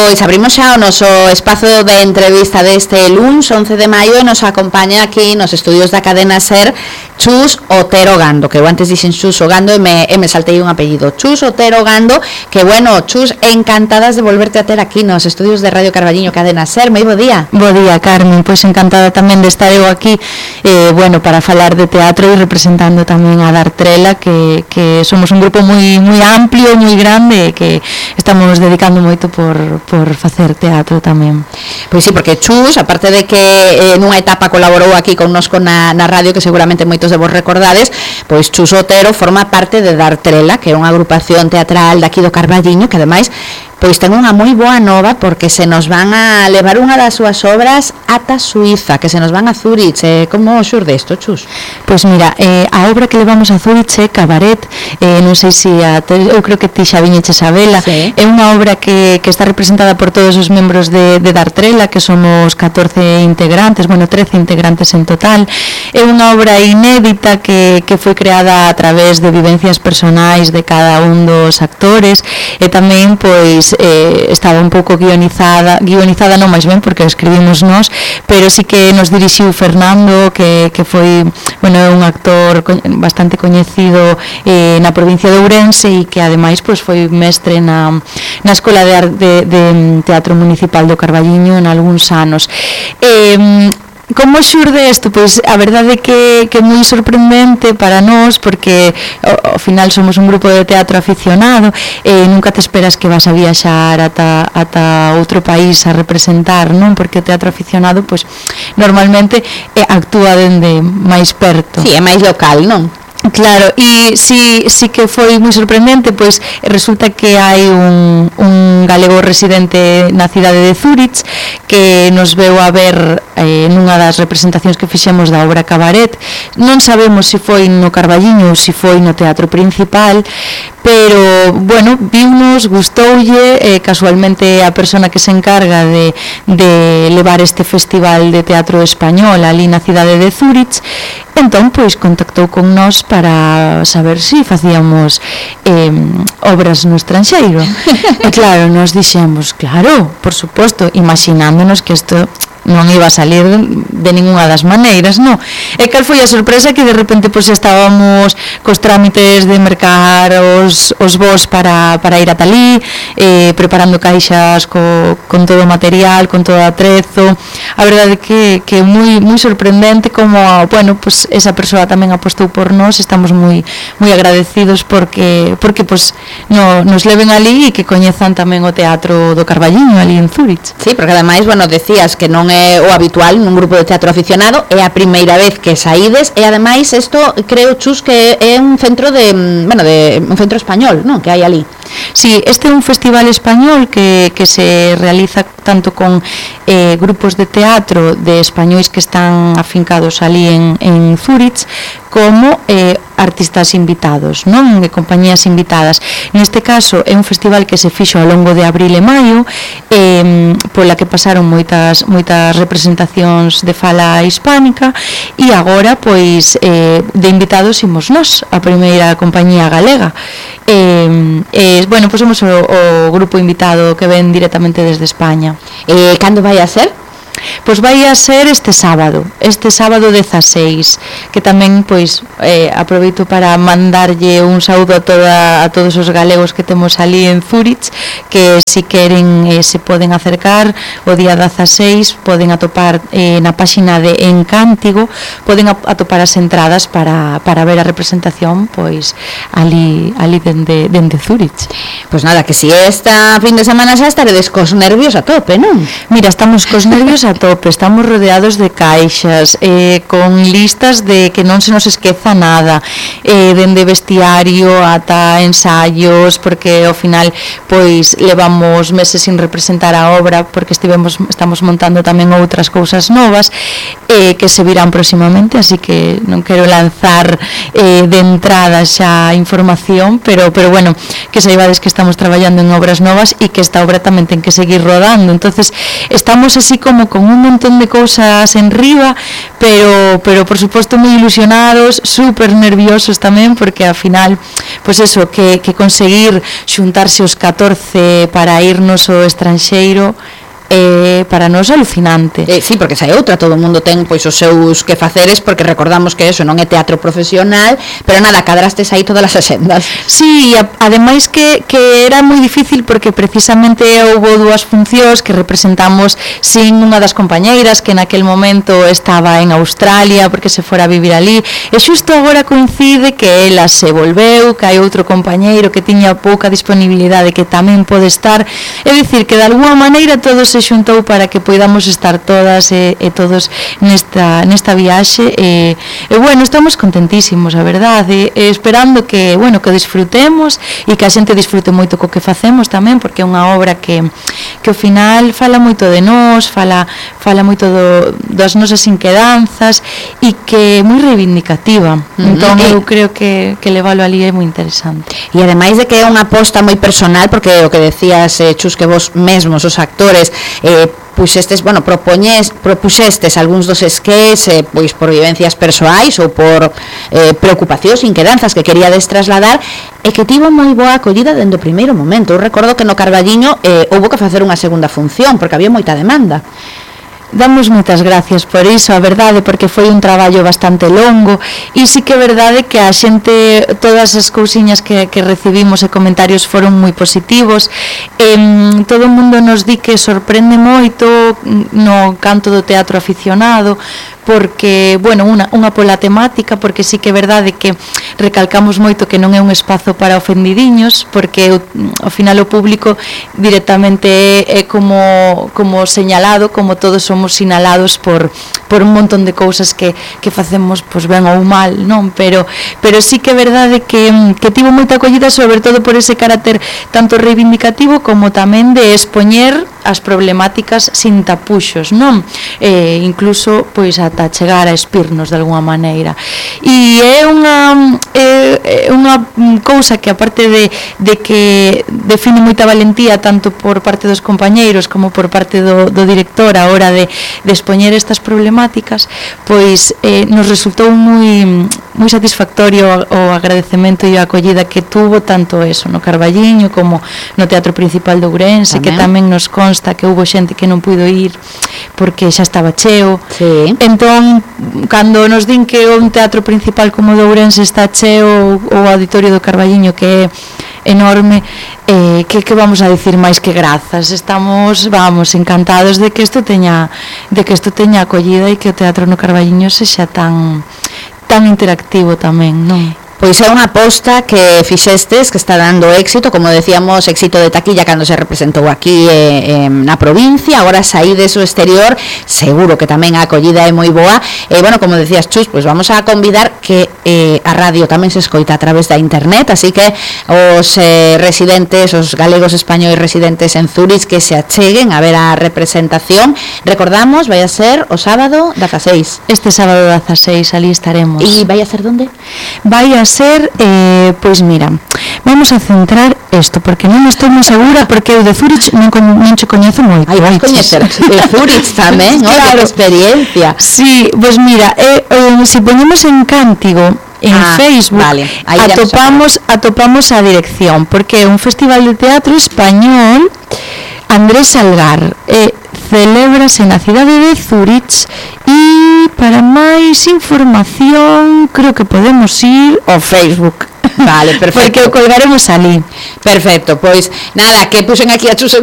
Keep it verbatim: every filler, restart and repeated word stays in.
Pois abrimos xa o noso espazo de entrevista deste luns once de maio e nos acompaña aquí nos estudios da cadena SER Chus Otero Gando, que eu antes dixen Chus o Gando e me, e me saltei un apellido, Chus Otero Gando, que bueno, Chus, encantadas de volverte a ter aquí nos estudios de Radio Carballiño Cadena SER. Moi bo día. Bo día, Carmen, pois encantada tamén de estar eu aquí, eh, bueno, para falar de teatro e representando tamén a Dartrela, que, que somos un grupo moi moi amplio, moi grande, e que estamos dedicando moito por, por facer teatro tamén. Pois sí, porque Chus, aparte de que eh, nunha etapa colaborou aquí connosco na, na radio, que seguramente moitos de vos recordades, pois Chus Otero forma parte de Dartrela, que é unha agrupación teatral daqui do Carballiño, que ademais pois ten unha moi boa nova, porque se nos van a levar unha das súas obras ata Suiza, que se nos van a Zurich. Eh, como xurde isto, Chus? Pois mira, eh, a obra que levamos a Zurich é Cabaret, eh, non sei se a, eu creo que ti xa viñeches a vela, sí. É unha obra que, que está representada por todos os membros de, de Dartrela, que somos catorce integrantes, bueno, trece integrantes en total. É unha obra inédita que, que foi creada a través de vivencias personais de cada un dos actores, e tamén, pois, Eh, estaba un pouco guionizada, guionizada non máis ben porque escribimos nós, pero sí que nos dirixiu Fernando, que, que foi, bueno, un actor co- bastante coñecido eh, na provincia de Ourense, e que ademais pois, foi mestre na, na Escola de, Ar- de, de Teatro Municipal do Carballiño en algúns anos. Eh, Como xurde isto? Pois a verdade é que, que é moi sorprendente para nós, porque ao, ao final somos un grupo de teatro aficionado e nunca te esperas que vas a viaxar ata, ata outro país a representar, non? Porque o teatro aficionado pois normalmente eh, actúa dende máis perto. Si, sí, é máis local, non? Claro, e si, si que foi moi sorprendente, pois resulta que hai un, un galego residente na cidade de Zurich que nos veu a ver eh, nunha das representacións que fixemos da obra Cabaret. Non sabemos se foi no Carballiño ou se foi no teatro principal, pero, bueno, viunos, gustoulle, eh, casualmente a persona que se encarga de, de levar este festival de teatro español ali na cidade de Zurich, entón, pois, contactou con nós para saber se si facíamos eh, obras no estranxeiro. E claro, nos dixemos, claro, por suposto, imaginándonos que isto non iba a salir de ninguna das maneiras, non? E cal foi a sorpresa que de repente pois estábamos cos trámites de mercar os, os voos para, para ir ata ali, eh, preparando caixas co, con todo o material, con todo o atrezo. A verdade que que é moi moi sorprendente como, bueno, pois esa persoa tamén apostou por nós. Estamos moi moi agradecidos porque porque pois no, nos leven ali e que coñezan tamén o teatro do Carballiño ali en Zurich. Sí, porque ademais, bueno, decías que non é o habitual nun grupo de teatro aficionado, é a primeira vez que saídes, e ademais isto creo, Chus, que é un centro de, bueno, de un centro español, non, que hai ali. Sí, este é un festival español que, que se realiza tanto con eh, grupos de teatro de españois que están afincados ali en, en Zurich, como eh, artistas invitados, non? E compañías invitadas. Neste caso é un festival que se fixo ao longo de abril e maio, eh, pola que pasaron moitas moitas representacións de fala hispánica, e agora pois eh, de invitados imos nós, a primeira compañía galega. Eh, eh, bueno, pois somos o, o grupo invitado que ven directamente desde España. Eh, cando vai a ser? Pois vai a ser este sábado, este sábado dezaseis, que tamén pois eh, aproveito para mandarlle un saúdo a toda a todos os galegos que temos ali en Zurich, que si queren eh, se poden acercar o día dezaseis, poden atopar eh, na páxina de Encántigo, poden atopar as entradas para, para ver a representación pois ali ali dende, dende Zurich. Pois nada, que si esta fin de semana xa estaredes cos nervios a tope, non? Mira, estamos cos nervios a tope, estamos rodeados de caixas, eh, con listas de que non se nos esqueza nada, eh, dende vestiario ata ensaios, porque ao final pois levamos meses sin representar a obra, porque estivemos estamos montando tamén outras cousas novas eh, que se virán próximamente, así que non quero lanzar eh, de entrada xa información, pero pero bueno, que saibades que estamos traballando en obras novas e que esta obra tamén ten que seguir rodando. Entonces estamos así como con con un montón de cousas en riba, pero, pero por suposto moi ilusionados, super nerviosos tamén, porque ao final, pois pues eso, que, que conseguir xuntarse os catorce para irnos ao estranxeiro, eh, para nós alucinante. Eh, sí, porque xa é outra, todo o mundo ten pois os seus que faceres, porque recordamos que eso non é teatro profesional, pero nada, cadrastes aí todas as axendas. Sí, a, ademais que, que era moi difícil porque precisamente houve dúas funcións que representamos sin unha das compañeiras que naquel momento estaba en Australia porque se fora a vivir ali, e xusto agora coincide que ela se volveu, que hai outro compañeiro que tiña pouca disponibilidade que tamén pode estar, é dicir que de alguma maneira todos se xuntou para que poidamos estar todas e, e todos nesta, nesta viaxe e, e bueno, estamos contentísimos, a verdade, e, e esperando que, bueno, que disfrutemos e que a xente disfrute moito co que facemos tamén, porque é unha obra que, que ao final fala moito de nós, fala, fala moito do, das nosas inquedanzas e que é moi reivindicativa. Uh-huh. Entón eu creo que, que levalo ali é moi interesante. E ademais de que é unha aposta moi personal, porque o que decías, eh, Chus, que vos mesmos, os actores, eh, puxestes, bueno, propoñes, propuxestes algúns dos esqués eh, pois por vivencias persoais ou por eh, preocupacións, inquedanzas que queríades trasladar e que tivo moi boa acollida dende o primeiro momento. Eu recordo que no Carballiño eh, houbo que facer unha segunda función porque había moita demanda. Damos moitas gracias por iso, a verdade, porque foi un traballo bastante longo e sí que é verdade que a xente, todas as cousiñas que, que recibimos e comentarios foron moi positivos. eh, todo o mundo nos di que sorprende moito no canto do teatro aficionado, porque, bueno, unha, unha pola temática, porque sí que é verdade que recalcamos moito que non é un espazo para ofendidiños, porque ao final o público directamente é, é como, como señalado, como todos somos sinalados por, por un montón de cousas que, que facemos pois ben ou mal, non? Pero, pero sí que é verdade que, que tivo moita acollida, sobre todo por ese carácter tanto reivindicativo como tamén de expoñer as problemáticas sin tapuxos, non? Eh, incluso, pois, ata chegar a espirnos de alguma maneira. E é unha é, é unha cousa que, aparte de, de que define moita valentía tanto por parte dos compañeiros como por parte do, do director a hora de, de expoñer estas problemáticas, pois eh, nos resultou moi, moi satisfactorio o agradecemento e a acollida que tuvo tanto eso no Carballiño como no Teatro Principal de Ourense, tamén. Que tamén nos consta que houbo xente que non puido ir porque xa estaba cheo. Sí. Entón, cando nos din que un teatro principal como o de Ourense está cheo, o auditorio do Carballiño que é enorme, eh, que, que vamos a decir máis que grazas. Estamos, vamos, encantados de que isto teña de que isto teña acollida e que o teatro no Carballiño sexa tan tan interactivo tamén, non? Pois é unha aposta que fixestes que está dando éxito, como decíamos, éxito de taquilla cando se representou aquí eh, eh, na provincia, agora saídes ao exterior, seguro que tamén a acollida é moi boa. E, bueno, como decías, Chus, pois vamos a convidar que eh, a radio tamén se escoita a través da internet, así que os eh, residentes, os galegos españois residentes en Zurich que se acheguen a ver a representación. Recordamos, vai a ser o sábado dezaseis. Este sábado dezaseis, ali estaremos. E vai a ser donde? Vai a ser, eh, pois mira, vamos a centrar isto, porque non estou moi segura, porque eu de Zurich non, non che coñezo moito. Ai, vais coñecer de Zurich tamén, claro. Oye, experiencia. Sí, pois mira, eh, eh, se ponemos en Cántigo en ah, Facebook, vale. atopamos, atopamos a dirección, porque é un festival de teatro español. Andrés Salgar, eh, celébrase na cidade de Zurich e para máis información creo que podemos ir ao Facebook. Vale, perfecto. Porque o colgaremos ali. Perfecto, pois nada, que puxen aquí a Chus